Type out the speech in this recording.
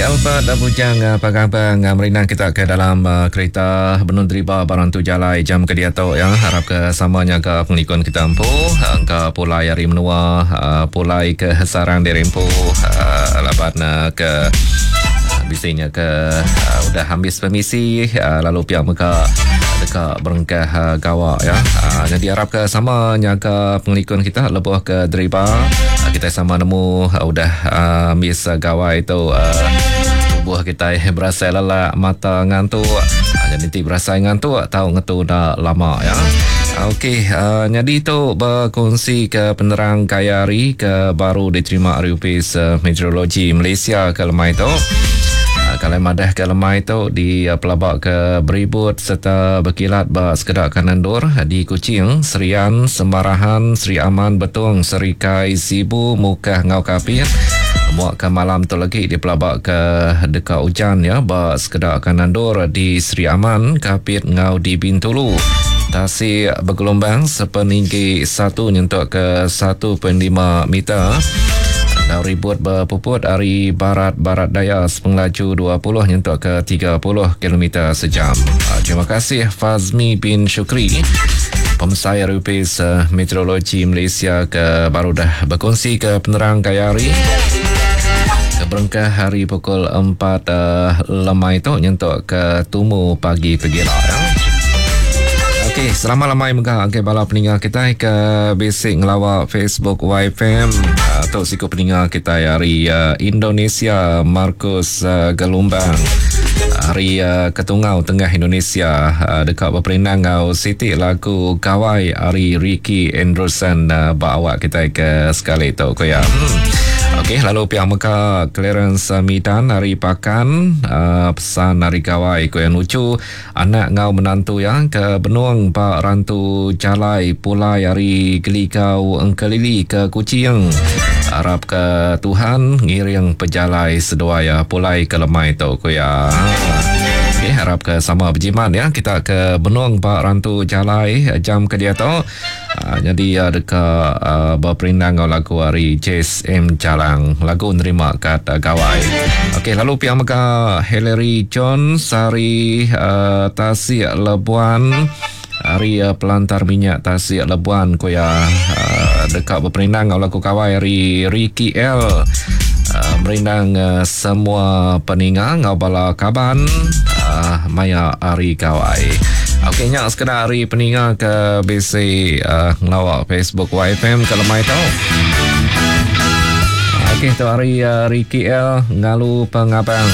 Albert Bujang Pagabang merindang kita ke dalam kereta benung deriba barang tu jalai jam ke diatu ya. Harap ke sama nyaga pengelikun kita empu engka pulai ari menua pulai ke sarang diri empu laban ke bisi nya ke udah ambis permisi lalu pia mega deka berengkah gawa ya. Jadi harap ke sama nyaga pengelikun kita lebuh ke deriba kita sama nemu udah ambis gawai tu tubuh kita berasai lelak mata ngantuk. Jadi ti berasai ngantuk tau ngetu enda lama ya. Okey, nyadi tu berkongsi ke penerang gaya hari ke baru diterima ari Opis Meteorologi Malaysia ke lemai tu. Kalau madah ke lemai tu di pelaba ke beribut serta berkilat ba sekeda kanan endur di Kuching, Serian, Semarahan, Sri Aman, Betong, Serikai, Sibu, Mukah enggau Kapit. Muak ke malam tu lagi dipelaba ke deka ujan ya ba sekeda kanan endur di Sri Aman, Kapit enggau di Bintulu. Tasik begelombang sepeninggi 1 nyentuk ke 1.5 meter. Enggau ribut bepuput ari barat-barat daya sepengelaju 20 nyentuk ke 30 kilometer sejam. Terima kasih Fazmi bin Shukri, Pemesai ari Opis Meteorologi Malaysia ke baru dah berkongsi ke penerang gaya hari ke berengkah hari pukul 4 lemai tu nyentuk ke tumu pagi pegila. Ya. Okey, selamat lemai mega ngagai bala peninga kitai ke bisi ngelawa Facebook YFM. Tu siku peninga kitai ari Indonesia, Marcus Gelumbang. Ari Ketungau Tengah Indonesia deka beperindang enggau siti lagu Gawai ari Ricky Anderson ba awak kitai ke sekali tu ku iya. Okey, lalu pia mega Clarence Midan ari Pakan pesan ari Gawai ku iya nuju anak enggau menantu iya ke benung ba rantu jalai pulai ari Geligau Engkelili ke Kuching. Arap ke Tuhan ngiring pejalai seduai iya pulai ke lemai tu ku iya. Okey, harap ke sama bejimat ya kita ke benung ba rantu jalai jam ke diatu. Nyadi iya deka beperindang enggau lagu ari Jess M Jalang lagu nerima kad gawai. Okey lalu pia mega Hillary Jones ari Tasik Lebuan ari Pelantar Minyak Tasik Lebuan ku iya deka beperindang enggau lagu gawai ari Ricky L. Merindang semua peninga enggau bala kaban maya ari gawai. Okey nya sekeda ari peninga ke bisi ngelawa Facebook YFM ke lemai tu. Okey tu ari Ricky L ngalu pengabang.